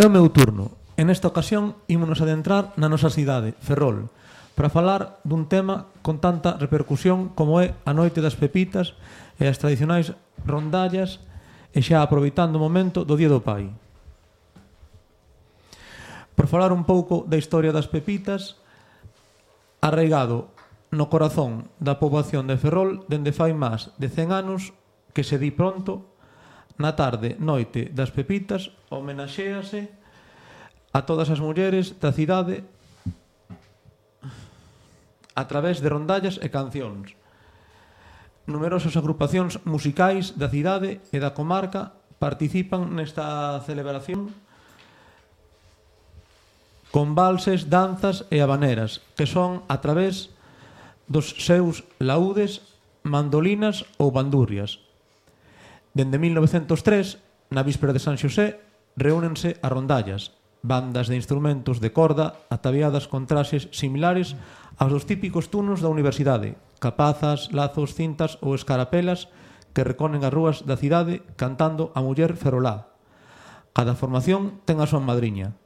É o meu turno. En esta ocasión, ímonos adentrar na nosa cidade, Ferrol, para falar dun tema con tanta repercusión como é a Noite das Pepitas e as tradicionais rondallas, e xa aproveitando o momento do Día do Pai. Por falar un pouco da historia das pepitas, arraigado no corazón da poboación de Ferrol dende fai máis de 100 anos que se di pronto, na tarde, noite das pepitas, homenaxéase a todas as mulleres da cidade a través de rondallas e cancións. Numerosas agrupacións musicais da cidade e da comarca participan nesta celebración con valses, danzas e habaneras, que son a través dos seus laúdes, mandolinas ou bandurrias. Dende 1903, na víspera de San Xosé, reúnense as rondallas, bandas de instrumentos de corda ataviadas con traxes similares aos dos típicos turnos da universidade, capazas, lazos, cintas ou escarapelas que reconen as rúas da cidade cantando a muller ferolá. Cada formación ten a súa madriña.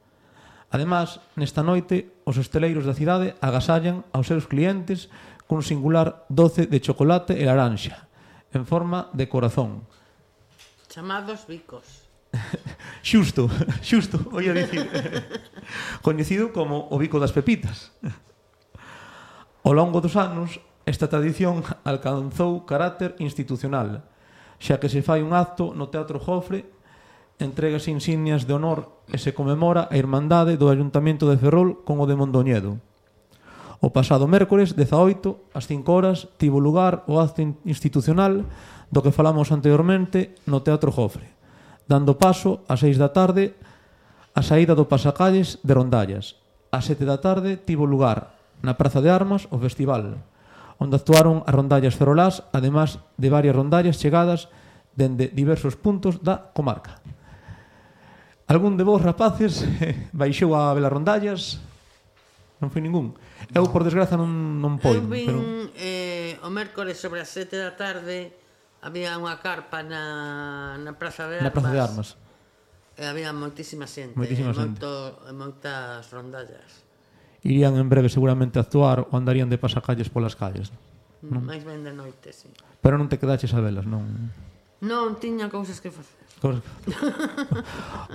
Ademais, nesta noite, os hosteleiros da cidade agasallan aos seus clientes cun singular doce de chocolate e laranxa, en forma de corazón. Chamados bicos. Xusto, oía dicir. Coñecido como o bico das pepitas. Ao longo dos anos, esta tradición alcanzou carácter institucional, xa que se fai un acto no Teatro Jofre, entregas insignias de honor e se conmemora a irmandade do Ayuntamento de Ferrol con o de Mondoñedo. O pasado mércores 18, ás 5 horas, tivo lugar o acto institucional do que falamos anteriormente no Teatro Jofre, dando paso ás 6 da tarde a saída do pasacalles de rondallas. Ás 7 da tarde tivo lugar na Praza de Armas o festival, onde actuaron as rondallas ferolás, ademais de varias rondallas chegadas dende diversos puntos da comarca. Algún de vos, rapaces, baixou a ver as rondallas? Non foi ningún. Eu, por desgraza, non podo. Eu vin o mércores sobre as 7 da tarde, había unha carpa na Praza de Armas. Na Praza de Armas. E había moitísima xente. Moitas rondallas. Irían en breve seguramente a actuar ou andarían de pasacalles polas calles. Mais ben de noite, sí. Pero non te quedaches a velas, non? Non, tiña cousas que facer.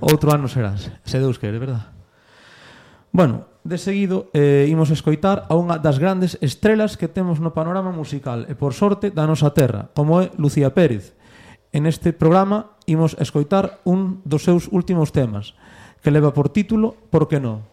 Outro ano serás, se Deus quere, verdad? Bueno, de seguido imos escoitar a unha das grandes estrelas que temos no panorama musical e por sorte da nosa terra, como é Lucía Pérez. En este programa imos escoitar un dos seus últimos temas, que leva por título Por que non?